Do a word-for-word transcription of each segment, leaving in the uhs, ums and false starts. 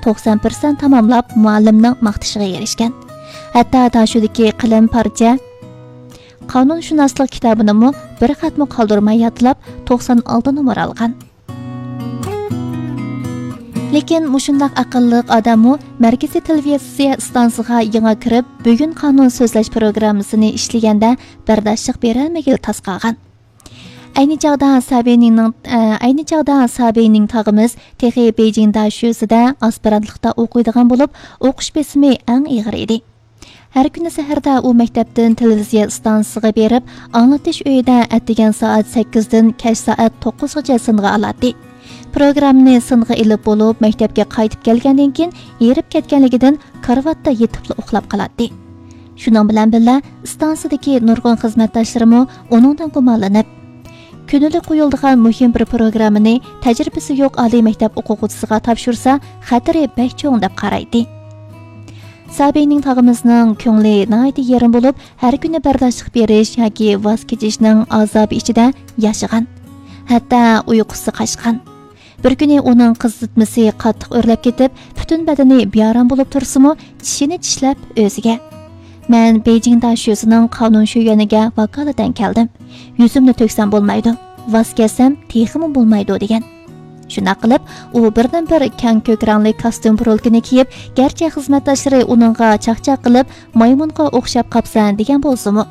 توقسان پىرسەنت تاماملاپ، مۇئەللىمنىڭ ماختىشىغا ئېرىشكەن. ھەتتا داشۆدىكى قەلەم پارچە قانۇنشۇناسلىق كىتابىنىمۇ بىر خەتمۇ قالدۇرماي يادلاپ، توقسان ئالتە نومۇر ئالغان. لېكىن مۇشۇنداق ئەقىللىق ئادەممۇ مەركىزىي تېلېۋىزىيە ئىستانسىسىغا يېڭى كىرىپ، بۈگۈن قانۇن سۆزلەش پروگراممىسىنى ئىشلىگەندە بەرداشلىق بېرەلمىگىلى تاس قالغان. ئەينى چاغدا سابىنىڭ، ئە، ئەينى چاغدا سابىنىڭ تاغىمىز تېخى بېيجىڭ داشۆسىدە ئاسپىرانتلىقتا ئوقۇيدىغان بولۇپ، ئوقۇش بېسىمى ئەڭ ئېغىر ئىدى. ھەر كۈنى سەھەردە ئۇ مەكتەپتىن تېلېۋىزىيە ئىستانسىسىغا بېرىپ، ئاڭلىتىش ئۆيىدە ئەتىگەن سائەت سەككىزدىن كەچ سائەت توققۇزغىچە سىنغا ئالاتتى. پروگراممىنى سىنغا ئېلىپ بولۇپ، مەكتەپكە قايتىپ كەلگەندىن كېيىن، ھېرىپ كەتكەنلىكىدىن كارىۋاتتا يېتىپلا ئۇخلاپ قالاتتى. شۇنىڭ بىلەن بىللە، ئىستانسىدىكى نۇرغۇن خىزمەتداشلىرىمۇ ئۇنىڭدىن گۇمانلىنىپ، كۈندىلىك قويۇلىدىغان مۇھىم بىر پروگراممىنى تەجرىبىسى يوق ئالىي مەكتەپ ئوقۇغۇچىسىغا تاپشۇرسا، خەتىرى بەك چوڭ دەپ قارايتتى. سابىنىڭ تاغىمىزنىڭ كۆڭلى ناھايىتى يېرىم بولۇپ، ھەر كۈنى بەرداشلىق بېرىش ياكى ۋاز كېچىشنىڭ ئازابى ئىچىدە ياشىغان. ھەتتا ئۇيقۇسى قاچقان. بىر كۈنى ئۇنىڭ قىزىتمىسى قاتتىق ئۆرلەپ كېتىپ، پۈتۈن بەدىنى بىئارام بولۇپ تۇرسىمۇ، چىشىنى چىشلەپ ئۆزىگە، «مەن بېيجىڭ داشۆسىنىڭ قانۇن شۆيۈەنىگە ۋاكالىتەن كەلدىم. يۈزۈمنى تۆكسەم بولمايدۇ، ۋاز كەچسەم تېخىمۇ بولمايدۇ» دېگەن. شۇنداق قىلىپ، ئۇ بىردىنبىر كەڭ كۆك رەڭلىك كاستيۇم پۇرۇلكىنى كىيىپ، گەرچە خىزمەتداشلىرى ئۇنىڭغا چاقچاق قىلىپ، «مايمۇنغا ئوخشاپ قاپسەن» دېگەن بولسىمۇ،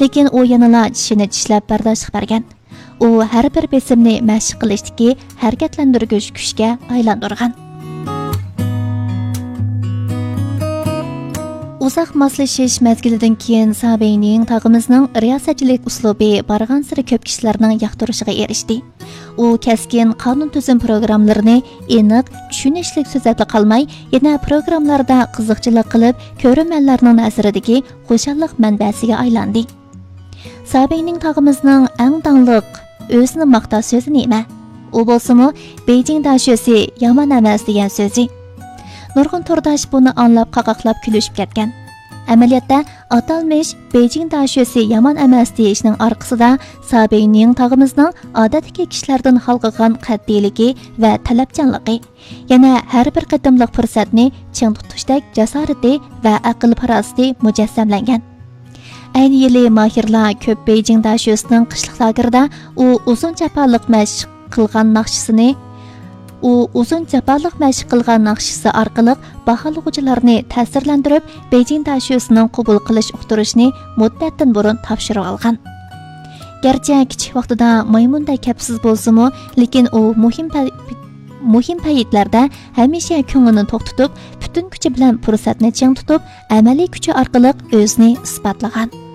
لېكىن ئۇ يەنىلا چىشىنى چىشلەپ بەرداشلىق بەرگەن. ئۇ ھەر بىر بېسىمنى مەشىق قىلىشتىكى ھەرىكەتلەندۈرگۈچ كۈچكە ئايلاندۇرغان. ئۇزاق ماسلىشىش مەزگىلىدىن كېيىن سابىنىڭ تاغىمىزنىڭ رىياسەتچىلىك ئۇسلۇبى بارغانسېرى كۆپ كىشىلەرنىڭ ياقتۇرۇشىغا ئېرىشتى. ئۇ كەسكىن قانۇن تۈزۈم پروگراممىلىرىنى ئېنىق، چۈشىنىشلىك سۆزلەپلا قالماي، يەنە پروگراممىلاردا قىزىقچىلىق قىلىپ، كۆرۈرمەنلەرنىڭ نەزىرىدىكى خۇشاللىق مەنبەسىگە ئايلاندى. سابىنىڭ تاغىمىزنىڭ ئەڭ داڭلىق، ئۆزىنى ماختاش سۆزى نېمە؟ ئۇ بولسىمۇ، «بېيجىڭ داشۆسى يامان ئەمەس» دېگەن سۆزى. نۇرغۇن تورداش بۇنى ئاڭلاپ قاقاقلاپ كۈلۈشۈپ كەتكەن. ئەمەلىيەتتە، ئاتالمىش «بېيجىڭ داشۆسى يامان ئەمەس» دېيىشنىڭ ئارقىسىدا سابىنىڭ تاغىمىزنىڭ ئادەتتىكى كىشىلەردىن ھالقىغان قەتئىيلىكى ۋە تەلەپچانلىقى، يەنە ھەر بىر قېتىملىق پۇرسەتنى چىڭ تۇتۇشتەك جاسارىتى ۋە ئەقىل-پاراسىتى مۇجەسسەملەنگەن. ئەينى يىلى ماھىرلار كۆپ بېيجىڭ داشۆسىنىڭ قىشلىق لاگېرىدا ئۇ ئۇزۇن جاپالىق مەشىق قىلغان ناخشىسىنى، ئۇ ئۇزۇن جاپالىق مەشىق قىلغان ناخشىسى ئارقىلىق باھالىغۇچىلارنى تەسىرلەندۈرۈپ، بېيجىڭ داشۆسىنىڭ قوبۇل قىلىش ئۇقتۇرۇشىنى مۇددەتتىن بۇرۇن تاپشۇرۇۋالغان. گەرچە كىچىك ۋاقتىدا مايمۇندەك كەپسىز بولسىمۇ، لېكىن ئۇ مۇھىم پە-، مۇھىم پەيتلەردە ھەمىشە كۆڭلىنى توختىتىپ، پۈتۈن كۈچى بىلەن پۇرسەتنى چىڭ تۇتۇپ، ئەمەلىي كۈچى ئارقىلىق ئۆزىنى ئىسپاتلىغان.